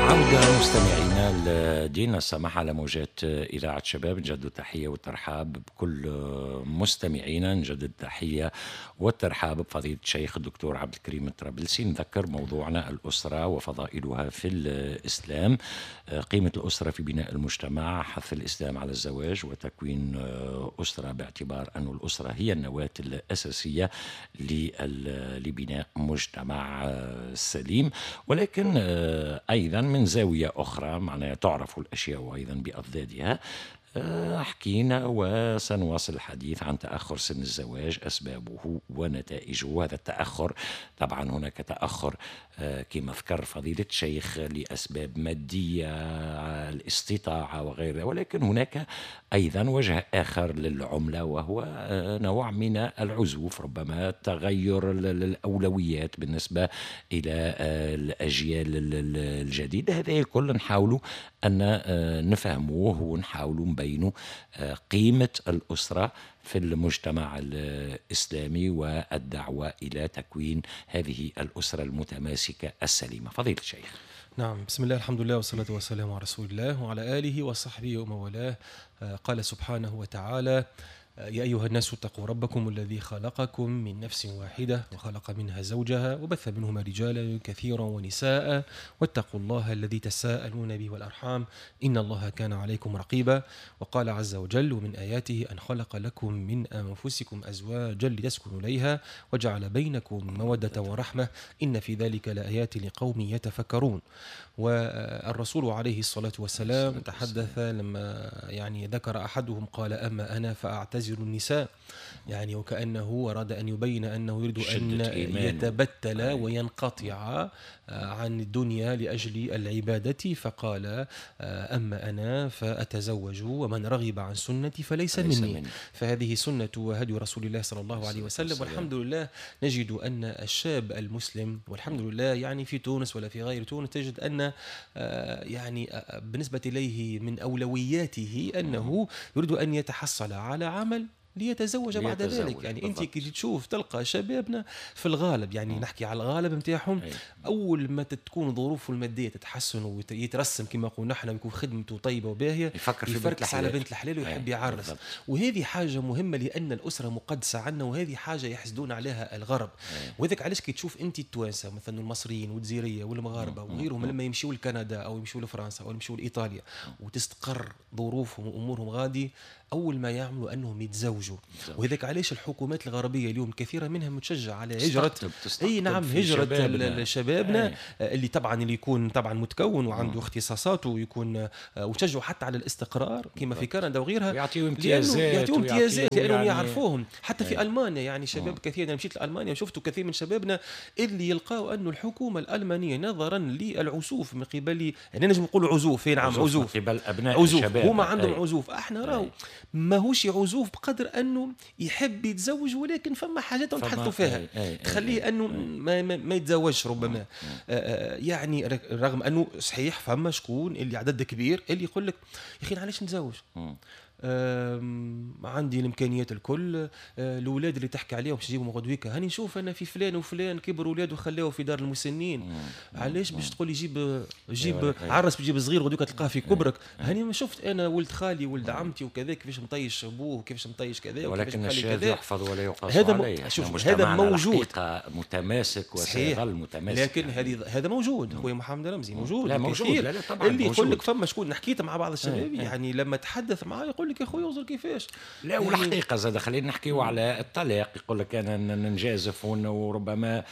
عودة مستمعينا لدينا السماح على موجات إذاعة شباب. نجدد التحية والترحاب بكل مستمعينا، نجدد التحية والترحاب بفضيلة الشيخ الدكتور عبد الكريم الطرابلسي. نذكر موضوعنا الأسرة وفضائلها في الإسلام، قيمة الأسرة في بناء المجتمع، حث الإسلام على الزواج وتكوين أسرة باعتبار أن الأسرة هي النواة الأساسية لبناء مجتمع سليم. ولكن أيضا من زاوية أخرى معناها تعرف الأشياء أيضا بأضدادها. حكينا وسنواصل الحديث عن تأخر سن الزواج، أسبابه ونتائجه. هذا التأخر طبعا هناك تأخر كما ذكر فضيلة الشيخ لأسباب مادية، الاستطاعة وغيرها، ولكن هناك أيضا وجه آخر للعملة وهو نوع من العزوف، ربما تغير الأولويات بالنسبة إلى الأجيال الجديدة. هذا الكل نحاول أن نفهموه ونحاول نبينوا قيمة الأسرة في المجتمع الإسلامي والدعوة إلى تكوين هذه الأسرة المتماسكة السليمة. فضيلة الشيخ. نعم، بسم الله، الحمد لله، والصلاة والسلام على رسول الله وعلى آله وصحبه ومن والاه. قال سبحانه وتعالى: يا أيها الناس اتقوا ربكم الذي خلقكم من نفس واحدة وخلق منها زوجها وبث منهما رجالا كثيرا ونساء واتقوا الله الذي تساءلون به والأرحام إن الله كان عليكم رقيبا. وقال عز وجل: ومن آياته أن خلق لكم من أنفسكم أزواجا لتسكنوا إليها وجعل بينكم مودة ورحمة إن في ذلك لآيات لقوم يتفكرون. والرسول عليه الصلاة والسلام تحدث لما يعني ذكر أحدهم قال: أما أنا فأعتزل النساء، يعني وكأنه أراد أن يبين أنه يريد أن يتبتل وينقطع عن الدنيا لأجل العبادة، فقال: أما أنا فأتزوج ومن رغب عن سنتي فليس مني. فهذه سنة وهدي رسول الله صلى الله عليه وسلم. والحمد لله نجد أن الشاب المسلم والحمد لله يعني في تونس ولا في غير تونس تجد أن يعني بالنسبة إليه من أولوياته أنه يريد أن يتحصل على عمل ليتزوج بعد ذلك. يعني انت كي تشوف تلقى شبابنا في الغالب، يعني نحكي على الغالب نتاعهم، اول ما تكون ظروفه المادية تتحسن ويترسم كما نقول نحن ويكون خدمته طيبة وباهيه، يفكر في بنت على بنت الحلال ويحب يعرس. وهذه حاجة مهمة لان الاسرة مقدسة عنا، وهذه حاجة يحسدون عليها الغرب. وهذاك علاش كي تشوف انت التوانسة مثلا المصريين والجزيريه والمغاربة وغيرهم لما يمشيوا لكندا او يمشيوا لفرنسا او يمشيوا لايطاليا وتستقر ظروفهم وامورهم غادي، اول ما يعملوا انهم يتزوجوا. وهذاك علاش الحكومات الغربية اليوم كثيرة منها متشجع على هجره، اي نعم، هجره شبابنا اللي طبعا اللي يكون طبعا متكون وعنده اختصاصاته ويكون، وتشجعوا حتى على الاستقرار كما في كندا وغيرها، يعطيوا امتيازات، يعطيوا امتيازات لانهم يعرفوهم. حتى في المانيا يعني شباب كثير، انا مشيت لالمانيا وشفت كثير من شبابنا اللي يلقاو انه الحكومة الالمانية نظرا للعزوف من قبل، يعني نجم نقولوا عزوف، نعم عزوف من قبل ابناء الشباب، هما عندهم عزوف. احنا راهو ماهوش عزوف بقدر انه يحب يتزوج، ولكن فما حاجات نتحدثوا فيها تخليه انه ما يتزوجش ربما. يعني رغم انه صحيح فما شكون اللي عدد كبير اللي يقول لك يا اخي علاش نتزوج، عندي الامكانيات الكل، الاولاد اللي تحكي عليهم باش يجيبوا غدويكا، هاني نشوف انا في فلان وفلان كبروا اولاده وخلاوه في دار المسنين، علاش باش تقول لي جيب عرس بجيب صغير غدويكا تلقاه في كبرك؟ هاني ما شفت انا ولد خالي ولد عمتي وكذا كيفاش مطيش ابوه وكيفاش مطيش كذا، ولكن الشاذ يحفظ ولا يقاس عليه. شوف هذا موجود، متماسك وسيظل متماسك، لكن هذا موجود خويا محمد رمزي، موجود. لا موجود، لا لا طبعا اللي يقول لك فما شكون حكيت مع بعض الشباب يعني لما تحدث معاه يقول لك يا خويا وزر كيفاش. لا والحقيقة زاد خلينا نحكيو على الطلاق، يقول لك انا نجازف وربما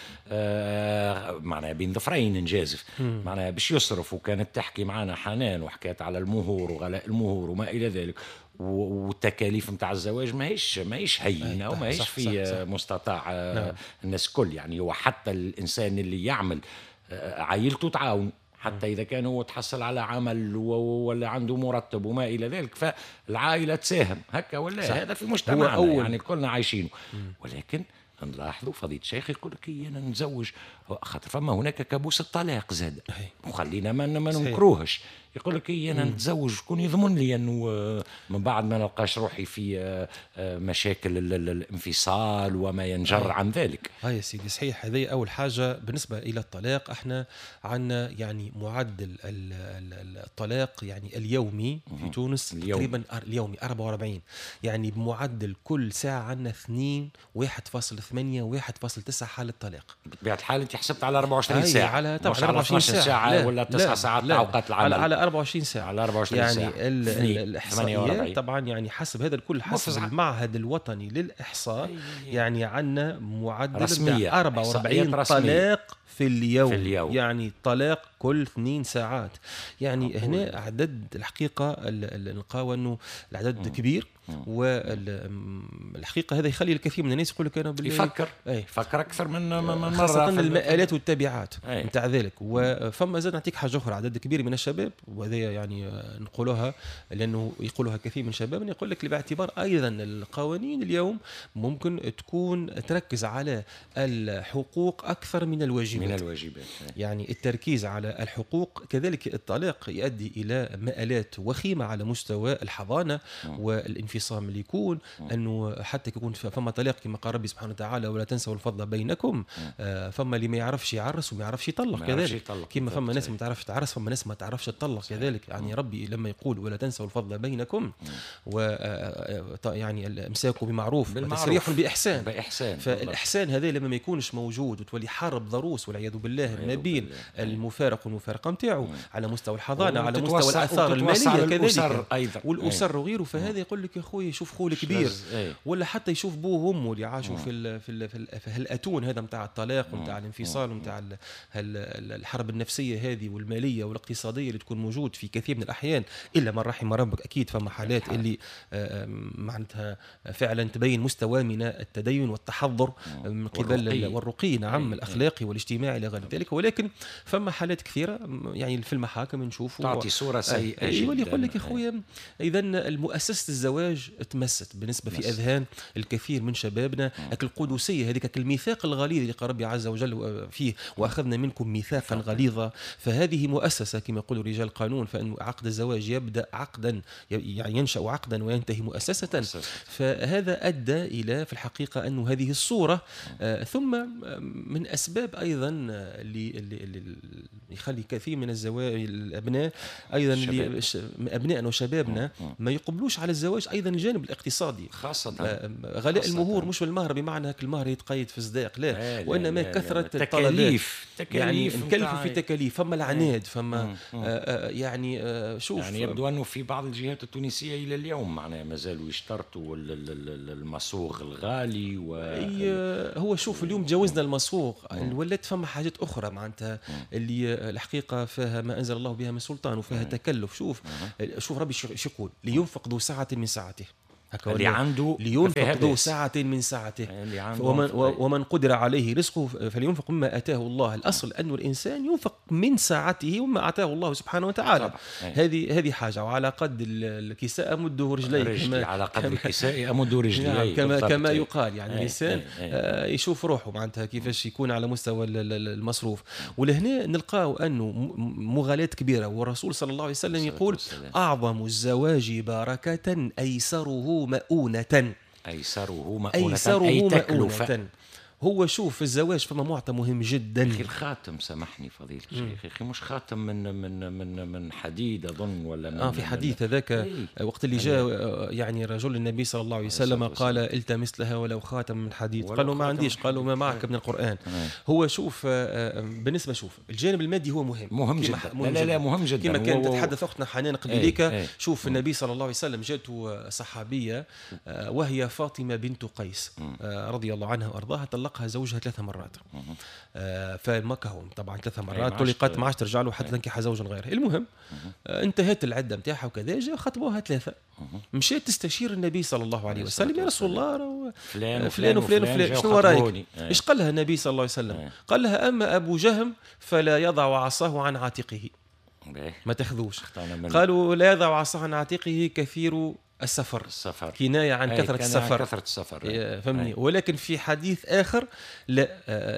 معناها بين ظفرين نجازف، معناها باش يصرف. وكانت تحكي معنا حنان وحكات على المهور وغلاء المهور وما الى ذلك، والتكاليف نتاع الزواج ماهيش هينة وماهيش في صح. مستطاع. نعم. الناس كل يعني، وحتى الانسان اللي يعمل عائلته تعاون، حتى إذا كان هو تحصل على عمل ولا عنده مرتب وما إلى ذلك، فالعائلة تساهم هكا ولا. هذا في مجتمعنا يعني كلنا عايشينه. ولكن نلاحظوا فضيلة الشيخ يقول لك أنا نتزوج خاطر فما هناك كابوس الطلاق زاد، وخلينا ما ننكروهش. يقول لك إيه انا نتزوج شكون يضمن لي انه من بعد ما نلقاش روحي في مشاكل الانفصال وما ينجر عن ذلك. يا سيدي صحيح. هذه اول حاجة بالنسبة الى الطلاق. احنا عندنا يعني معدل الطلاق يعني اليومي في تونس تقريبا اليومي 44، يعني بمعدل كل ساعة عندنا 2 1.8 1.9 حاله طلاق. بطبيعة الحال انت حسبت على 24 ساعة، على طبعا 24 ساعة ولا 9 ساعات اوقات العمل، على 24 ساعة، على 24 يعني ساعة. يعني الاحصائيات طبعا يعني حسب هذا الكل، حسب المعهد الوطني للاحصاء، يعني عندنا معدل 44 طلاق في اليوم. يعني طلاق كل 2 ساعات. يعني هنا عدد الحقيقة نلقاو انه العدد كبير، والحقيقة هذا يخلي الكثير من الناس يقول لك انا يفكر يفكر اكثر من مرة، خاصة المآلات والتبعات نتاع ذلك. وفما زاد نعطيك حاجة اخرى، عدد كبير من الشباب، وهذا يعني نقولوها لانه يقولها كثير من الشباب، يقول لك باعتبار ايضا القوانين اليوم ممكن تكون تركز على الحقوق اكثر من الواجبات. يعني التركيز على الحقوق، كذلك الطلاق يؤدي الى مآلات وخيمة على مستوى الحضانة والانفصام اللي يكون، انه حتى يكون فما طلاق كما قال ربي سبحانه وتعالى ولا تنسوا الفضل بينكم. فما اللي ما يعرفش يعرس وما يعرفش يطلق كذلك، كما فما ناس ما تعرفش تعرس، فما ناس ما تعرفش تطلق كذلك. يعني ربي لما يقول ولا تنسوا الفضل بينكم، و يعني الامساك بمعروف وتسريح بإحسان. فالإحسان هذا لما ما يكونش موجود وتولي حرب ضروس والعياذ بالله ما بين المفارق والمفارقه نتاعو على مستوى الحضانة، على مستوى الاثار المالية كذلك، والاسر وغيره. فهذا يقول لك يا خويا شوف خوه الكبير، ولا حتى يشوف بوه وامه اللي عاشوا في في في هالاتون هذا نتاع الطلاق ونتاع الانفصال ونتاع الحرب النفسية هذه والمالية والاقتصادية اللي تكون موجود في كثير من الاحيان، الا من رحم ربك. اكيد فما حالات اللي معناتها فعلا تبين مستوى من التدين والتحضر من قبل والرقي، نعم، الاخلاقي والاجتماعي الى غير ذلك. ولكن فما حالات كثيرة يعني في المحاكم نشوفوا تعطي صوره سيئه جدا. يولي يقول لك يا خويا اذا المؤسسة الزواج تمست بالنسبة في اذهان الكثير من شبابنا، القدسية هذيك، الميثاق الغليظ اللي قال ربي عز وجل فيه واخذنا منكم ميثاقا غليظا. فهذه مؤسسة كما يقولوا رجال القانون، فان عقد الزواج يبدا عقدا، يعني ينشا عقدا وينتهي مؤسسة. فهذا ادى الى في الحقيقة انه هذه الصورة. ثم من اسباب ايضا اللي يخلي كثير من الزواج الابناء ايضا ابنائنا وشبابنا ما يقبلوش على الزواج، ايضا الجانب الاقتصادي، خاصة غلاء المهور، مش المهر بمعنى المهر يتقيد في الصداق، لا، وانما كثرة الطلبات، يعني نكلفوا في تكاليف، فما العناد، فما يعني شوف، يعني يبدو انه في بعض الجهات التونسية الى اليوم معناها مازالوا يشترطوا المصوغ الغالي. هو شوف اليوم تجاوزنا المصوغ، ولات فما حاجات اخرى معناتها اللي الحقيقة فيها ما انزل الله بها من سلطان وفيها تكلف. شوف ربي شو يقول، لينفق ذو سعة من سعته، اللي عنده لينفق ذو سعة من سعته، ومن قدر عليه رزقه فلينفق مما آتاه الله. الأصل أن الإنسان ينفق من سعته وما آتاه الله سبحانه وتعالى. هذه حاجة. وعلى قد الكساء أمده رجلي، على قد الكساء أمد رجلي، كما يقال. يعني الإنسان يشوف روحه معناتها كيفاش يكون على مستوى المصروف. ولهنا نلقاو أنه مغالاة كبيرة، والرسول صلى الله عليه وسلم يقول أعظم الزواج بركة أيسره مؤونة. أيسره مؤونة، أي تكلفة. هو شوف في الزواج فما معطى مهم جدا. أخي الخاتم، سامحني فضيلة الشيخ، أخي مش خاتم من من من من حديد أظن، ولا من في حديث هذاك وقت اللي جاء يعني رجل النبي صلى الله عليه وسلم قال التمس لها ولو خاتم من حديد، قالوا ما عنديش، قالوا ما معك من القرآن. هو شوف بالنسبة، شوف الجانب المادي هو مهم، مهم جدا، لا لا مهم جدا. كما كانت تتحدث أختنا حنان قبليك، شوف النبي صلى الله عليه وسلم جاءته صحابية وهي فاطمة بنت قيس رضي الله عنها وأرضاها، طلقها زوجها 3 مرات. فما طبعا 3 مرات طلقت، ما عادش ترجع له حتى تنكح زوجا غيره. المهم انتهت العدة نتاعها وكذا، جاء خطبوها 3. مشات تستشير النبي صلى الله عليه وسلم، يا رسول الله فلان وفلان وفلان وفلان، شنو رايك؟ ايش قال لها النبي صلى الله عليه وسلم؟ قال لها اما ابو جهم فلا يضع عصاه عن عاتقه، ما تاخذوش. قالوا لا يضع عصاه عن عاتقه كثير السفر، كناية عن كثرة السفر، كثرة السفر، فهمني. ولكن في حديث آخر لا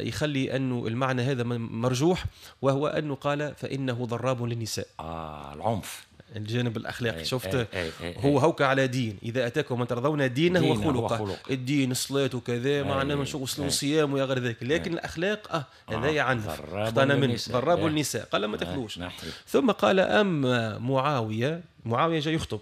يخلي أنه المعنى هذا مرجوح، وهو أنه قال فإنه ضراب للنساء. العنف، الجانب الأخلاقي. شفت هو هوك على دين، إذا أتاكم من ترضون دينه وخلقه، الدين الصلاة وكذا، معنا من شو صيام ويا غير ذلك، لكن الأخلاق هذا يعنف، اخطأنا منه، ضراب النساء، قال ما تاخذوش. ثم قال أما معاوية، معاوية جاي يخطب،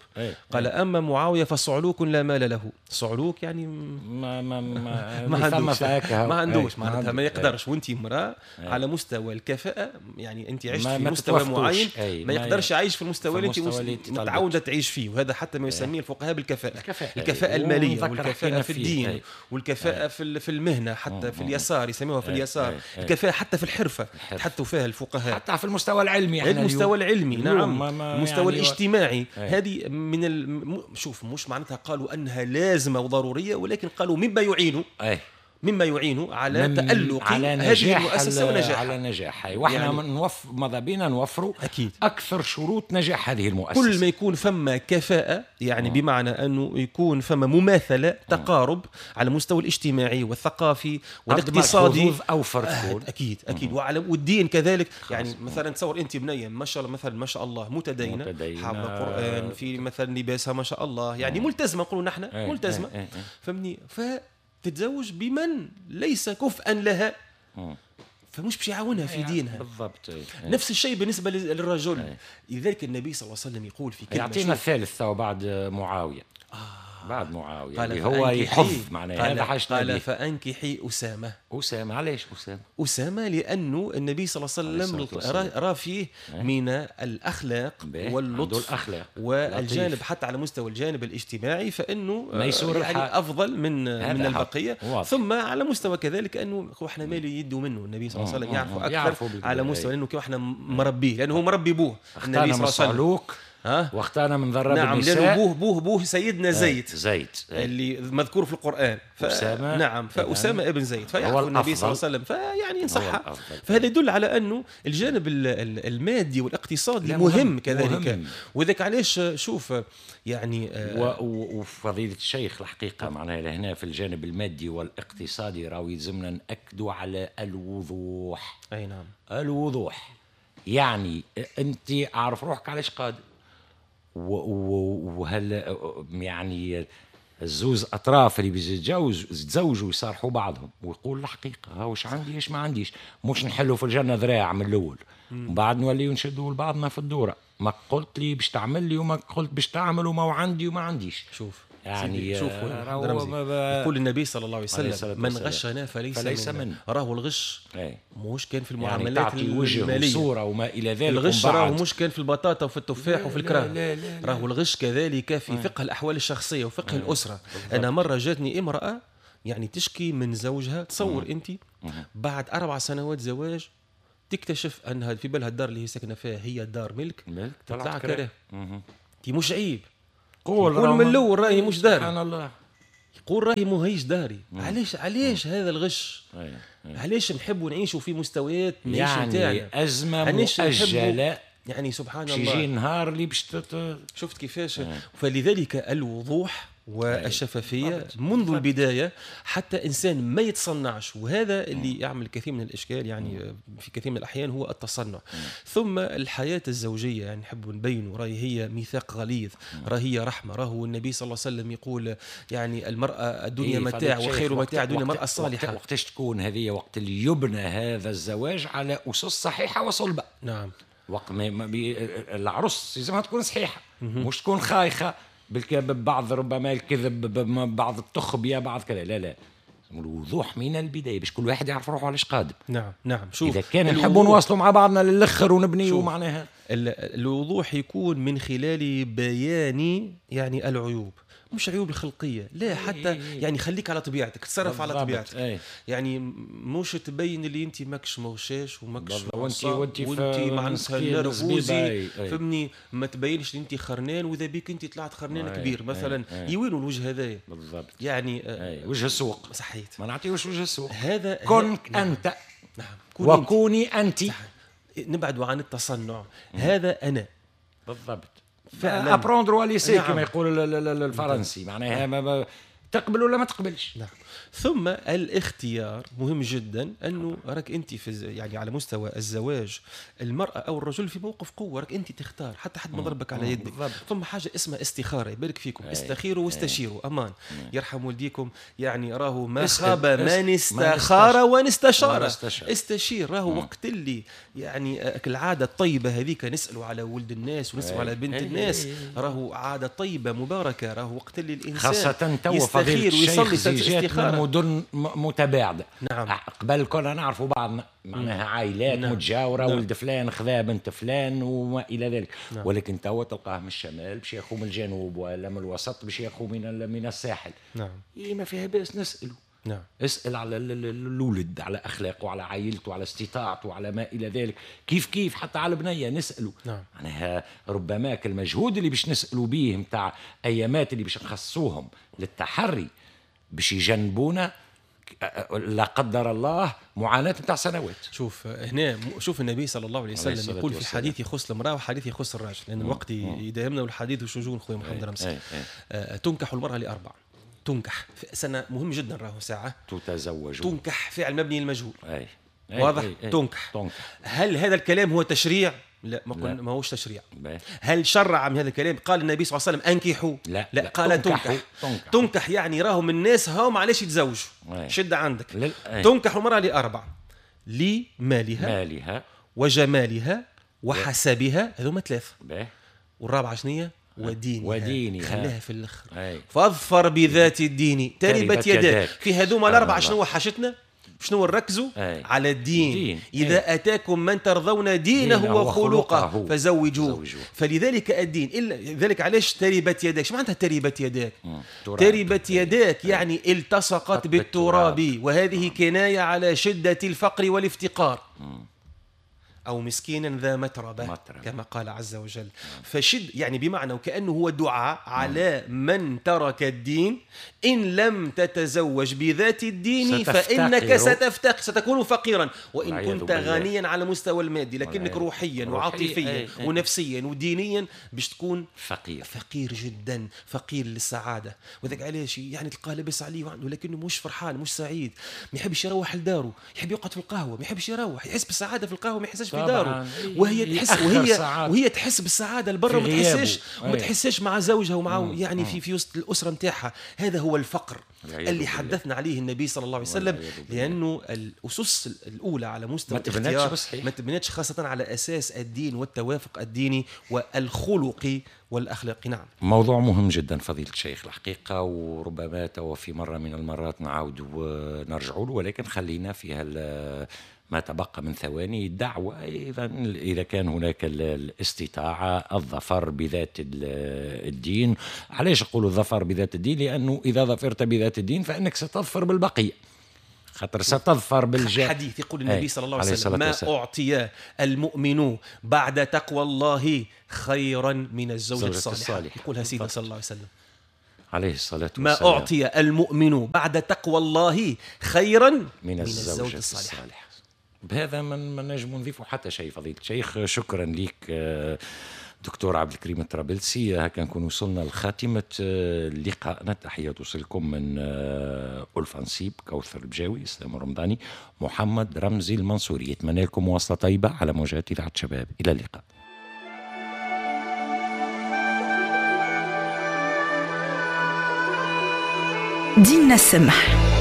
قال أما معاوية فصعلوك لا مال له. صعلوك يعني ما ما ما ما عندوش، ما عندوش معناتها ما يقدرش. وانت امرأة على مستوى الكفاءة، يعني انت عشت في مستوى معين، ما يقدرش يعيش في المستوى اللي انت متعودة تعيش فيه. وهذا حتى ما يسميه الفقهاء بالكفاءة، الكفاءة المالية والكفاءة في الدين والكفاءة في المهنة، حتى في اليسار يسميوها في اليسار، الكفاءة حتى في الحرفة حتى فيها الفقهاء، حتى في المستوى العلمي، المستوى العلمي، نعم، المستوى الاجتماعي. هذه من شوف، مش معناتها قالوا أنها لازمة وضرورية، ولكن قالوا مما يعين، مما يعين على تألق على هذه المؤسسة ونجاحها، على نجاحها. واحنا يعني ماذا بينا نوفروا أكيد أكثر شروط نجاح هذه المؤسسة. كل ما يكون فما كفاءة، يعني بمعنى أنه يكون فما مماثلة، تقارب على المستوى الاجتماعي والثقافي والاقتصادي، أوفر تكون. أكيد أكيد. وعلى والدين كذلك. يعني مثلا تصور أنت بنية ما شاء الله، مثلا ما شاء الله متدينة، حافظة القرآن، في مثلا لباسها ما شاء الله، يعني ملتزمة، نقولوا نحن ملتزمة، فهمني، تتزوج بمن ليس كفءا لها، فمش باش يعاونها في دينها. بالضبط. نفس الشيء بالنسبة للرجل. لذلك النبي صلى الله عليه وسلم يقول في كلمة، يعطينا الثالث تو بعد معاوية. بعد معاوية اللي هو يحظ معناها، هذا حاجة. قال فأنكحي أسامة. أسامة، علاش أسامة؟ أسامة لأنه النبي صلى الله عليه وسلم رأى فيه من الأخلاق واللطف والجانب، حتى على مستوى الجانب الاجتماعي، فإنه يعني أفضل من البقية. واضح. ثم على مستوى كذلك أنه احنا مالي يدوا منه النبي صلى الله عليه وسلم، يعرفه أكثر على مستوى لأنه كيف احنا مربيه، لأنه هو مربي بوه النبي صلى الله عليه وسلم. واختارنا من ضرب نعم، النساء. لأنه بوه سيدنا زيد اللي مذكور في القرآن. أسامة. نعم، فأسامة ابن زيد، فيعرف النبي صلى الله عليه وسلم، فيعني ينصحها. فهذا يدل على أنه الجانب المادي والاقتصادي مهم كذلك. وذاك علاش شوف يعني وفضيلة الشيخ الحقيقة معناها لهنا في الجانب المادي والاقتصادي راهو يلزمنا نأكدوا على الوضوح. أي نعم، الوضوح، يعني أنت عارف روحك علاش قادر، وهل يعني الزوز اطراف اللي بيتزوجوا يصارحوا بعضهم ويقول الحقيقة، ها واش عندي ايش ما عنديش، مش نحلوا في الجنة ذراع من الاول ومن بعد نوليو نشدوا لبعضنا في الدورة، ما قلت لي باش تعمل لي وما قلت باش تعمل وما عندي وما عنديش. شوف يعني شوف يقول النبي صلى الله عليه وسلم من غشنا فليس منا. راهو الغش مش كان في المعاملات يعني المالية وصوره وما الى ذلك، الغش راهو مش كان في البطاطا وفي التفاح وفي الكراه، راهو الغش كذلك في فقه الاحوال الشخصية وفقه الاسرة. انا مرة جاتني امراة يعني تشكي من زوجها، تصور انت بعد 4 سنوات زواج تكتشف انها في بالها الدار اللي هي ساكنة فيها هي دار ملك، طلع كره. تي مش عيب قول من الاول راهي مش داري، سبحان الله، يقول راهي ماهيش داري. علاش هذا الغش؟ علاش نحبوا نعيشوا في مستويات ماهيش يعني نتاعنا؟ ازمة مؤجلة يعني سبحان الله، يجي النهار اللي باش شفت كيفاش. فلذلك الوضوح والشفافية منذ البداية حتى إنسان ما يتصنعش، وهذا اللي يعمل كثير من الإشكال يعني في كثير من الأحيان هو التصنع. ثم الحياة الزوجية يعني نحب نبين راهي هي ميثاق غليظ، راهي هي رحمة، راهو النبي صلى الله عليه وسلم يقول يعني المرأة الدنيا متاع وخير متاع الدنيا المرأة الصالحة. وقتاش تكون هذه؟ وقت اللي يبنى هذا الزواج على أسس صحيحة وصلبة. نعم، وقت ما العروس لازمها تكون صحيحة، مش تكون خايخة بعض ربما الكذب، بعض التخبية، بعض كذا. لا لا، الوضوح من البداية باش كل واحد يعرف روحه علاش قادم. نعم نعم. شوف إذا كان نحبوا نواصلوا مع بعضنا للآخر ونبنيوا معناها الوضوح يكون من خلال بيان يعني العيوب، مش عيوب الخلقية، لا حتى يعني خليك على طبيعتك، تصرف على طبيعتك. يعني مش تبين اللي انت ماكش مغشاش وماكش وانت معناتها نرفوزي، فهمني، ما تبينش اللي انت خرنان واذا بيك انت طلعت خرنان كبير مثلا. يوينوا الوجه هذايا بالضبط، يعني وجه السوق. صحيت، ما نعطيوش وجه السوق هذا. كن انت. نعم، وكوني انت. نبعدوا عن التصنع. هذا انا بالضبط، فعلا à prendre ou à laisser كما يقول الفرنسي، معناها تقبل ولا ما تقبلش. نعم. ثم الاختيار مهم جدا، انه راك انت في يعني على مستوى الزواج المراة او الرجل في موقف قوة، راك انت تختار، حتى حد ما ضربك على يدك. ثم حاجة اسمها استخاره، يبارك فيكم، استخيروا واستشيروا، امان يرحم والديكم، يعني راهو ما خاب من استخار ونستشار. استشير، راهو وقت اللي يعني العادة الطيبة هذيك نسالوا على ولد الناس ونسالوا على بنت الناس، راهو عادة طيبة مباركة، راهو وقت اللي الانسان خاصة تو فضيلة الشيخ زيجات من مدن متباعدة. نعم. قبل كنا نعرفوا بعضنا، معناها عائلات متجاورة، ولد فلان خذا بنت فلان وما إلى ذلك. نعم. ولكن توا تلقاه من الشمال باش ياخو من الجنوب، ولا من الوسط باش ياخو من الساحل. نعم. إيه ما فيها باس نسأله. نعم. اسأل على الولد، على أخلاقه، على عائلته، على استطاعته، على ما إلى ذلك. كيف كيف حتى على البنية نسأله. نعم. معناها ربما المجهود اللي باش نسألوا بيه متاع أيامات اللي باش نخصوهم للتحري باش يجنبونا لا قدر الله معاناة متاع سنوات. شوف هنا، شوف النبي صلى الله عليه وسلم يقول في حديث يخص المرأة وحديث يخص الرجل، لأن الوقت يداهمنا والحديث وشجون خويا محمد رمزي. تنكح المرأة لأربع، تنكح سنة مهم جدا، راهو ساعة تتزوج، تنكح فعل مبني للمجهول. واضح. تنكح. هل هذا الكلام هو تشريع؟ لا، ما هوش تشريع. هل شرع من هذا الكلام؟ قال النبي صلى الله عليه وسلم انكحوا؟ لا، لا، قال تنكح. تنكح يعني راهم الناس هاهم علاش يتزوجوا. شد عندك. تنكح المرأة لأربع: لمالها وجمالها وحسبها، هذوما ثلاثة. والرابعة شنية؟ ودينها. خليها في الاخر. فاظفر بذات الدين تربت يداك. في هذوما الأربعة شنو حاجتنا؟ شنو نركزوا؟ على الدين. إذا أتاكم من ترضون دينه وخلقه فزوجوه. فلذلك الدين، إلا ذلك علاش تربت يداك؟ شو معناتها تربت يداك؟ تربت يداك يعني التصقت بالتراب، وهذه كناية على شدة الفقر والافتقار. أو مسكينا ذا متربة كما قال عز وجل. فشد يعني بمعنى وكأنه هو دعاء على من ترك الدين، إن لم تتزوج بذات الدين فإنك ستفتقر، ستكون فقيرا، وإن كنت غنيا على مستوى المادي لكنك روحيا وعاطفيا ونفسيا ودينيا باش تكون فقير، فقير جدا، فقير للسعادة. وذاك علاش يعني تلقاه لابس عليه ولكنه مش فرحان، مش سعيد، ما يحبش يروح لداره، يحب يقعد في القهوة، ما يحبش يروح، يحس بالسعادة في القهوة ما يحسش في داره، وهي تحس وهي تحس بالسعادة لبرا، وما تحسش مع زوجها ومع يعني في وسط الاسرة نتاعها. هذا هو الفقر اللي حدثنا عليه النبي صلى الله عليه وسلم، لانه الاسس الاولى على مستوى الاختيار ما تبنتش خاصة على اساس الدين والتوافق الديني والخلقي والاخلاقي. نعم، موضوع مهم جدا فضيلة الشيخ الحقيقة، وربما تو في مرة من المرات نعاود ونرجعوا له، ولكن خلينا في ما تبقى من ثواني دعوة إذا كان هناك الاستطاعة الظفر بذات الدين. علاش أقول الظفر بذات الدين؟ لأنه إذا ظفرت بذات الدين فإنك ستظفر بالبقية، خاطر ستظفر بالجاه. حديث يقول النبي صلى الله عليه وسلم: ما أعطي المؤمن بعد تقوى الله خيرا من الزوجة الصالحة. يقولها سيدنا صلى الله عليه وسلم عليه الصلاة والسلام: ما أعطي المؤمن بعد تقوى الله خيرا من الزوجة الصالحة. بهذا ما نجم نضيفه حتى شيء. فضيلة الشيخ شكرا لك دكتور عبد الكريم الطرابلسي. هكا نكون وصلنا لخاتمة لقائنا. تحية توصلكم من ألفة نصيب، كوثر البجاوي، إسلام الرمضاني، محمد رمزي المنصوري. يتمنى لكم مواصلة طيبة على موجات إذاعة شباب. إلى اللقاء. ديننا السمح.